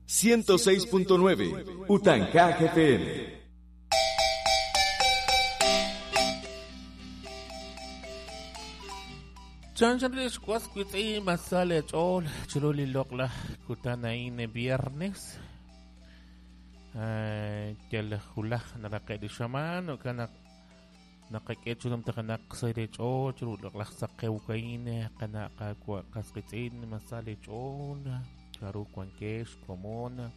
106.9 Utancaj FM. Chanchanrix wasquitzi masale chol chiruli lokla kutanaine viernes. Yal julaj naraqe shaman o kana naqak'echulum taqanaq sayrech'ol chirul saqewkaine qanaqa qasqitz'in masale ch'ol charu kuankex komona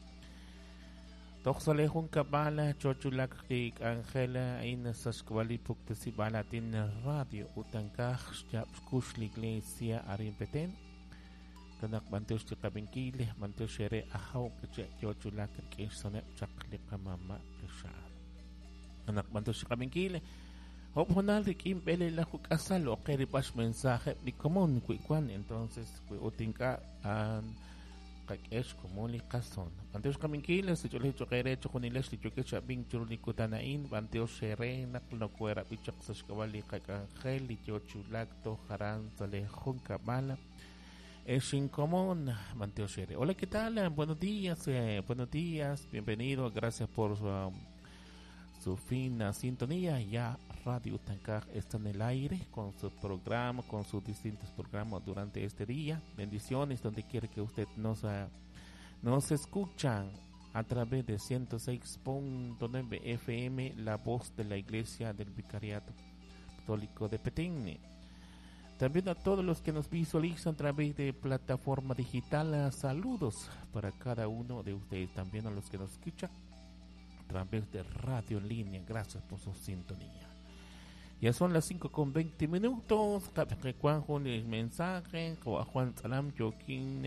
Toxale kabala chochulak tik Angela in saskwali puktesibalatin radio utankaj xkush la iglesia arin Petén kanak banteos tiqabinkil banteos xere ajaw kiche chochulak k'ix sonep chaq liqamama qixar kanak banteos tiqabinkil Hop honal rikim bele la hukasal o qeripash mensaje ni común kuikuan entonces utinka an qak'ex komon li qason banteos qaminkil sich'olej choqere choqonilex li chokech abin churuli kutanain banteos xere naq nokuera bichaq saxk'awal li qak'anjel li yochulak tojaran sale junkab'al Exin común banteos xere. Hola, ¿qué tal? Buenos días, bienvenido, gracias por su fina sintonía. Ya Radio Utancaj está en el aire con su programa, con sus distintos programas durante este día. Bendiciones donde quiera que usted nos escuchan a través de 106.9 FM, la voz de la Iglesia del Vicariato Católico de Petén. También a todos los que nos visualizan a través de plataforma digital, saludos para cada uno de ustedes. También a los que nos escuchan a través de radio en línea, gracias por su sintonía. Ya son las 5:20. Juan mensaje, Juan Salam, Joaquín,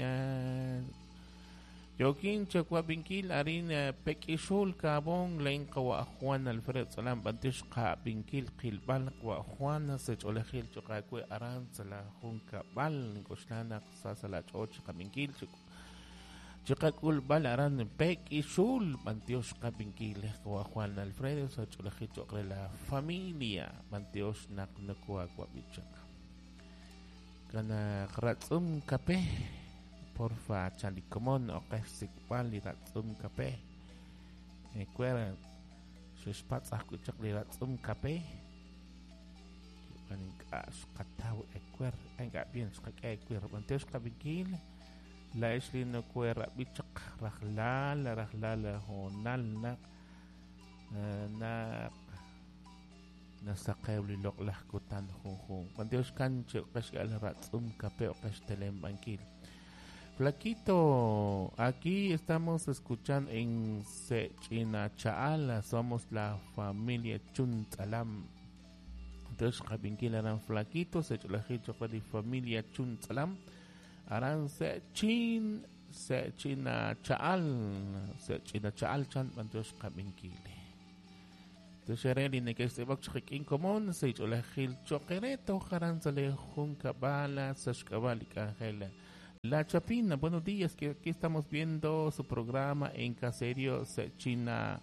Joaquín, Chacuabinkil, Arina, Pequishul, Cabón, Lenca, Juan Alfredo Salam, Bantish, Binkil, Kilbal, Juan, Secholejil, Chocacue, Aranzala, Junca, Bal, Goshlana, Sasala, Choch, Cabinkil, Chicacul, Bal, Aran, Pequishul, Bantiosh, Cabinkil, Juan Alfredo, Secholejil, Chocre, la familia, Bantiosh, Naknacua, Guabichac. Gana, Ratzum, Capé. Porfa, chalicomón, o que ratzum café. Cuera, suspats akuchak ratzum café. Katau ecuer, enga bien, ecuer, banteos cabinkil, la eslino cuera, bichak, rajlal, rajlal, honal, nak, nak, nasaqew li loqlaj kutan junjun. Banteos cancho, qashgal ratzum café o qashtelem bankil. Flaquito, aquí estamos escuchando en Sechinachaala, somos la familia Chuntzalam. Entonces, Jabinkil harán Flaquito, Secholajicho, de familia Chuntzalam, harán Sechin, Sechinachaal, Sechinachaal, Chan, entonces, Jabinkil. Entonces, Shereli, Nekestebok, común, Secholajil, Choquereto, harán Sale, Juncabala, Sashkabal y Angela. La Chapina, buenos días, que aquí estamos viendo su programa en Caserio Sechina.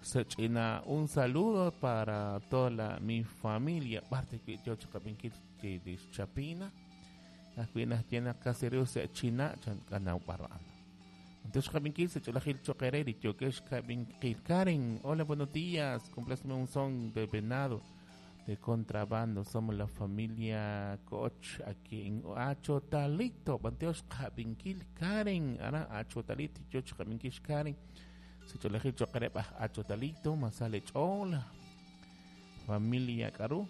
Sechina, un saludo para toda la, mi familia. Parte que yo chacapinquil de Chapina. Las cuinas llenas Caserio Sechina, chancanau parano. Entonces, Cabinquil, Secholajil Choquereri, Choquesh Cabinquil. Karen, hola, buenos días. Complázme un son de venado de contrabando, somos la familia Koch aquí en Achotalito, Banteos Cabinquil Karen, ara Achotalito, Choch Cabinquil Karen, Secholajil Choquereba Achotalito, Masale Chola, familia Karu,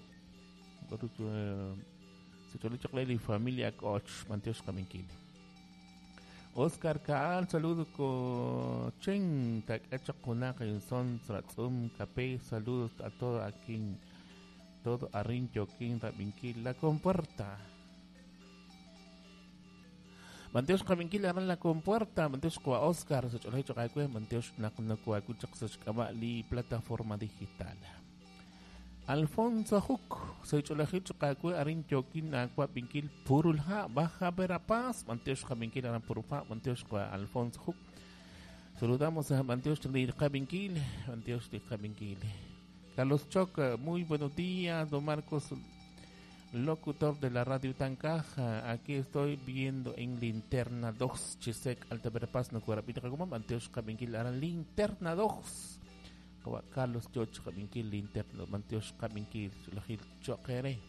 Secholajil familia Koch, Banteos Cabinquil. Oscar Kaal, saludo con Chen, Takachakuna, son Tratzum, Capé, saludos a todo aquí. Todo arrin joquín rabinquil la compuerta. Manteos kabinquil aran la compuerta. Manteos kwa Oscar socholecho kaikue manteos naknakua kuchak sochkabali plataforma digital. Alfonso Huk socholecho kaikue arin joquín aqua binquil purulha baja Verapaz. Manteos kabinquil aran purulha manteos kwa Alfonso Huk. Saludamos a manteos kabinquil manteos kabinquil. Carlos Choc, muy buenos días, don Marcos. locutor de la radio Tancaj. Aquí estoy viendo en Linterna 2, Chisec, Alta Verapaz, no Cuarapita, como Anteos Caminquil, ahora Linterna 2. Carlos George Caminquil, Linterna, Manteos Caminquil, Choquere.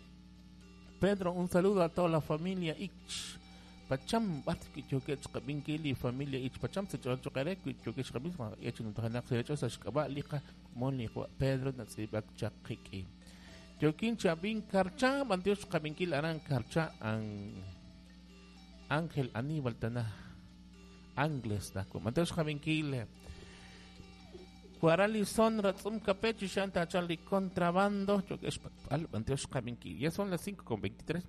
Pedro, un saludo a toda la familia Ich. Pacham, Choquech Caminquil y familia Ich Pacham, se choquere, Choquech Caminquil, Hecho Pedro, Natsibak Chakiki. Yokin Chabin Karcha, Mantios Kabinkil Aran Karcha, Ángel Aníbal Tana, Angles, Mantios Kabinkil, Cuaralizón, Ratzum Capechi, Shanta Charlie Contrabando, Mantios Kabinkil. Ya son las 5:23.